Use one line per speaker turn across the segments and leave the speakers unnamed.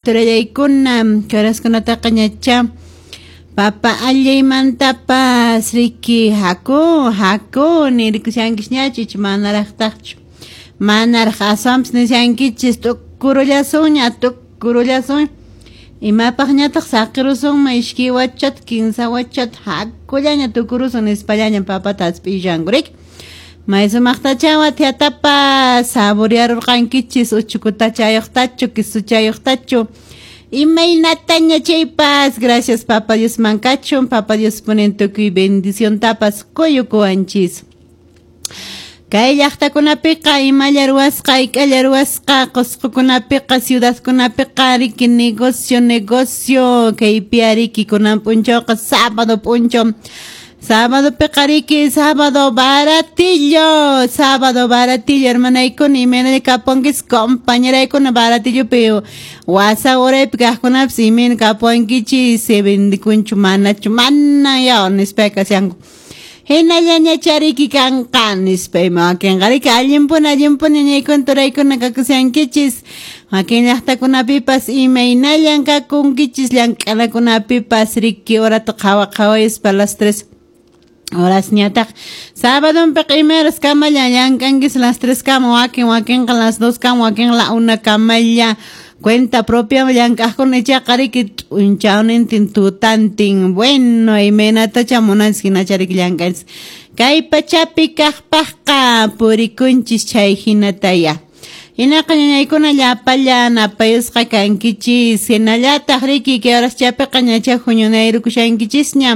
Turallaykuna karaskunataqa ñacha papa allaymantapas riki haku haku nirikushankisñachu icha manaraqtaqchu manaraq aswanpas nishankichis tukurullasunña tukurullasun imapaqñataq saqirusunman iskay wachata kinsa wachata hakullaña tukurusun nispallaña papata hasp'ishanku riki. May sumaqtacha wathiatapas saborearurqankichis uchukutachayuqtachu quisuchayuqtachu imaynataña chaypas gracias papa Diosman kachun papa Dios punin tukuy bendiciontapas quyukuwanchis. Kay llaqtakunapiqa imalla ruwasqa hayk'alla ruwasqa Qusqukunapiqa ciudadkunapiqa riki negocio negocio kaypi ariki kunan p'unchawqa sábado p'unchaw sábadopiqa riki sábado baratillo sábado baratillo hermanaykuna imaynalla kapuwankichis compañeraykuna baratillopi wasa uraypi kaqkunapas imayna kapuwankichis se vendikunchu manachu mana yaw nispa kashanku hinallañacha riki kanqa nispa ima wakinqa riki allinpuni allinpuni ñañaykuna turaykuna kakushankichis wakin llaqtakunapipas imaynallan kakunkichis llank'anakunapipas riki horata qhawa qhawayaspa las 3 horasñataq sabadonpiqa ima horas kamalla llank'ankis las 3 kama wakin wakinqa las 2 kama wakin la 1 kamalla cuenta propia llank'aqkuna ichaqa riki p'unchawnintin tutantin bueno imaynatacha munanchis hinacha riki llank'anchis kay pachapi kaqpaqqa purikunchis chay hinataya hinaqa ñañaykuna llapallan apayusqa kankichis hinallataq riki kay horaschapiqa ñacha huñunayrukushankichisña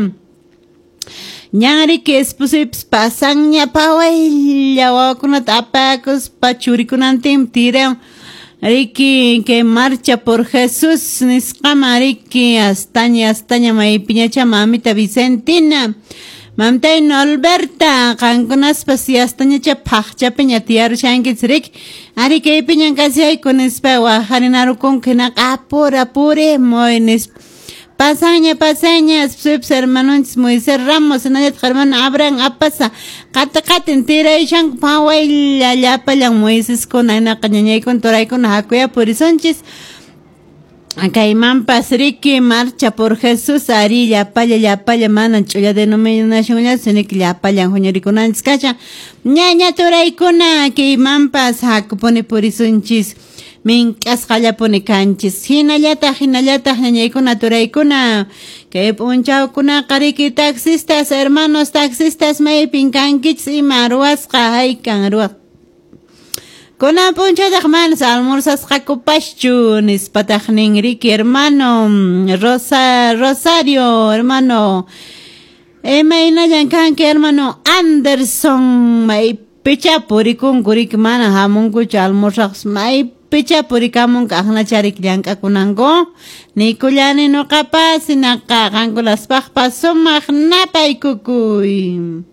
ñan riki esposuypas pasanña pawaylla wawakunata apakuspa churikunantin tiran riki kay marcha por Jesús nisqaman riki astaña astaña maypiñacha mamita Vicentina mamtay Norberta qankunaspas astañacha phaqchapiña tiyarushankichis riki ari kaypiñan kashayku nispa wajarinarukunku hinaqa apura apurimuy nispa pasaña pasaña esposuypas hermanonchis Moisés Ramos hinallataq hermano Abraham Apasa qati qatin tirayshanku pawaylla llapallan Moiseskuna hinaqa ñañaykuna turaykuna hakuya purisunchis kaymanpas riki marcha por Jesús ari llapalla llapalla mana ch'ulla denominacionllachu sino que llapallan huñurikunanchis kashan ñaña turaykuna kaymanpas hakupuni purisunchis mink'asqallapuni kanchis hinallataq hinallataq ñañaykuna turaykuna kay p'unchawkunaqa riki taxistas hermanos taxistas maypin kankichis ima ruwasqa haykan ruwasqa kunan p'unchawtaq manas almorzasqakupaschu nispataq nin riki hermano Rosa Rosario hermano imaynallan kanki hermano Anderson maypicha purikunku riki mana hamunkuchu almorzaqpas maypicha purikamunku aqnacha riki llank'akunanku nikullani nuqapas hinaqa qankunaspaqpas sumaq napaykukuy.